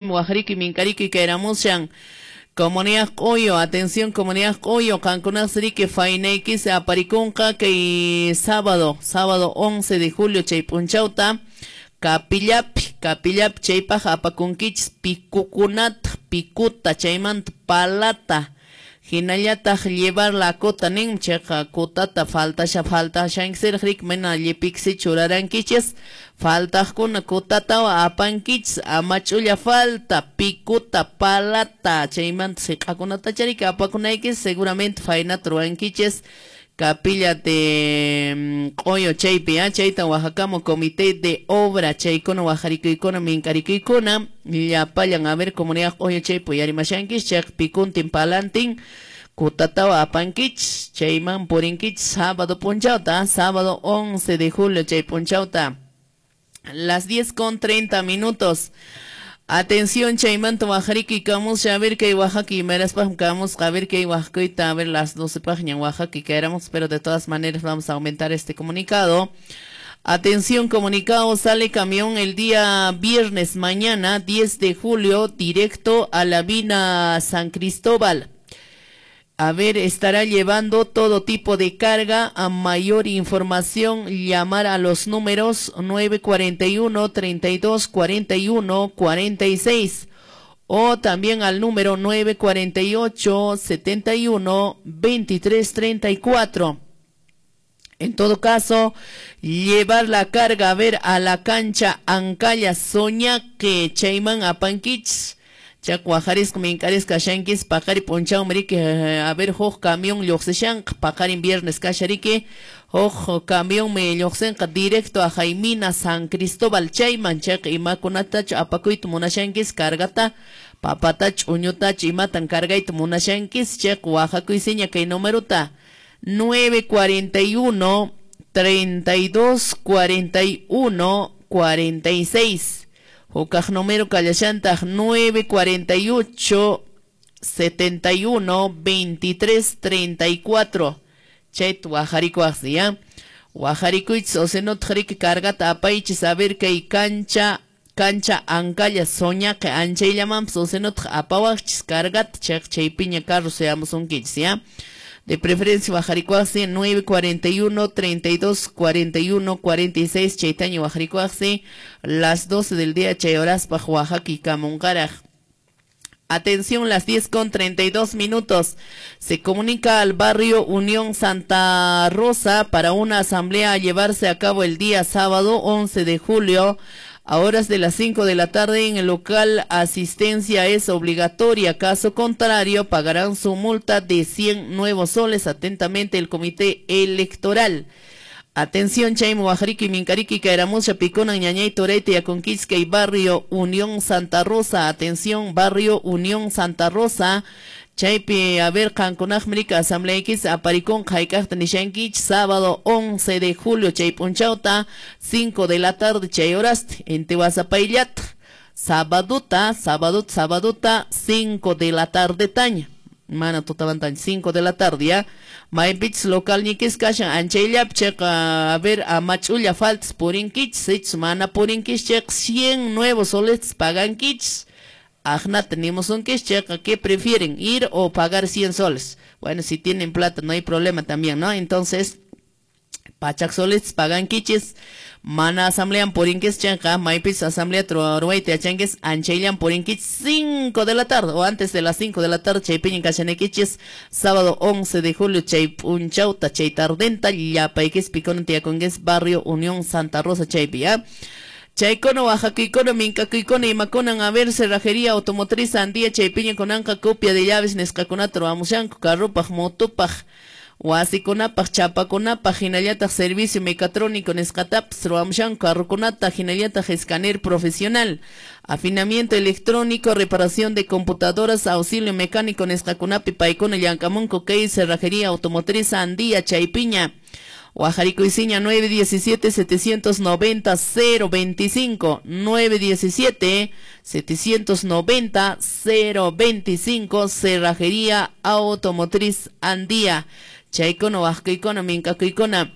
Wajariki minkariki kayramushan comunidad Q'uyu, atención comunidad Q'uyu, qankunasriki fainaykisi aparikunqa kay sábado, sábado 11 de julio chay p'unchawta kapillapi, kapillapi chaypaq apakunkichis pikukunata, pikuta, chaymanta palata, hinallataq llevar la cota nin chayqa cotata faltasha faltashankisiraq riki mana llipiksi churarankichis faltaqkuna cotatawan apankichis ama ch'ulla falta pikuta palata chaymanta siq'akunata chariki apakunaykis seguramente faynata ruwankichis capilla de Q'uyu chaypi chayta wajakamu comité de obra chaykuna wajarikuykuna minkarikuykuna llapallan a ver comunidad Q'uyu chaypi uyarimashankichis chayqa pikuntin palantin kutatawa apankichis chayman purinkichis sábado p'unchawta sábado 11 de julio chay p'unchawta las 10:30. Atención, chaymanta wajariki kamusha, a ver kay Oaxaca imaraspaqmi kamusqa, a ver kay Oaxaca, a ver las 12 páginas Oaxaca caeremos, pero de todas maneras vamos a aumentar este comunicado. Atención, comunicado, sale camión el día viernes mañana, 10 de julio, directo a la mina San Cristóbal. A ver, estará llevando todo tipo de carga. A mayor información, llamar a los números 941 32 41 46 o también al número 948 71 23 34. En todo caso, llevar la carga a ver a la cancha Ancalla Soñaque, chayman apankichis. Chaq wajarisqa minkarisqa kashankis paqari p'unchawmi riki a ver huk camión lluqsishanqa paqarin viernes kashariki huk camionmi lluqsinqa directo a Jaimina San Cristóbal chayman chayqa imakunatachu apakuyta munashankis cargata papatachu uñutachu imatan cargayta munashankis chayqa wajakuysiña kay numerota 941 32 41 46. Hukaq número kallashantaq 948 71 23 34. Chayta wajarikuwaqsi ya. Wajarikuychis o si no riki cargata apaychis a ver kay cancha cancha Ancalla Soñaqe anchayllamanpas o si no apawaqchis cargata chayqa chaypiña carro suyamusunkichis ya. De preferencia wajarikuwaqsi 941 32 41 46 chaytaña wajarikuwaqsi las 12 del día chay horaspaq wajaki kamunqaraq. Atención, las 10:32. Se comunica al barrio Unión Santa Rosa para una asamblea a llevarse a cabo el día sábado 11 de julio a horas de las 5 de la tarde en el local. Asistencia es obligatoria. Caso contrario, pagarán su multa de 100 nuevos soles. Atentamente, el comité electoral. Atención, chaymi wajariki minkariki kayramusha pikunan ñañay turayta yakunkichis y barrio Unión Santa Rosa. Atención, barrio Unión Santa Rosa. Chaypi, a ver, qankunaqmi riki asambleaykis aparikunqa hayk'aqta nishankichis sábado 11 de julio chay p'unchawta 5 de la tarde chay horasta inti wasapayllata sabaduta, sabaduta, sabaduta 5 de la tarde taña mana tutamantaña 5 de la tarde ya maypichis localñikis kashan anchayllapi chayqa a ver ama ch'ulla faltas purinkichis sichus mana purinkichis chayqa 100 nuevos soles pagankichis. Ajnata nimusunkichis chayqa ¿qué prefieren? ¿Ir o pagar 100 soles? Bueno, si tienen plata no hay problema también, ¿no? Entonces, pachak soles pagankichis mana asamblean purinkichis chayqa maypis asamblea ruwayta yachankis anchayllan purinkichis 5 de la tarde o antes de las 5 de la tarde chaypiñan kashanaykichis sábado 11 de julio chay p'unchawta chay tardenta llapaykis pikuna tiyakunkis barrio Unión Santa Rosa chaypi ya. Chaykuna wajakuykuna minkakuykuna imakunan a ver cerrajería automotriz Andía chaypiña kunanqa copia de llaves nisqakunata ruwamushanku carrupaq motopaq wasikunapaq chapakunapaq hinallataq servicio mecatrónico nisqatapas ruwamushanku carrokunata hinallataq escáner profesional afinamiento electrónico reparación de computadoras auxilio mecánico nisqakunapi paykuna llank'amunku kay cerrajería automotriz Andía chaypiña Wajarikuysiña 917 790 025 917 790 025 Cerrajería Automotriz Andía. Chaykuna wajakuykuna minkakuykuna.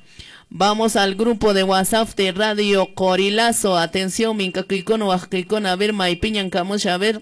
Vamos al grupo de WhatsApp de Radio Corilazo. Atención, mink'akuykuna, waqakuykuna, a ver, maypiñan kamusha, a ver.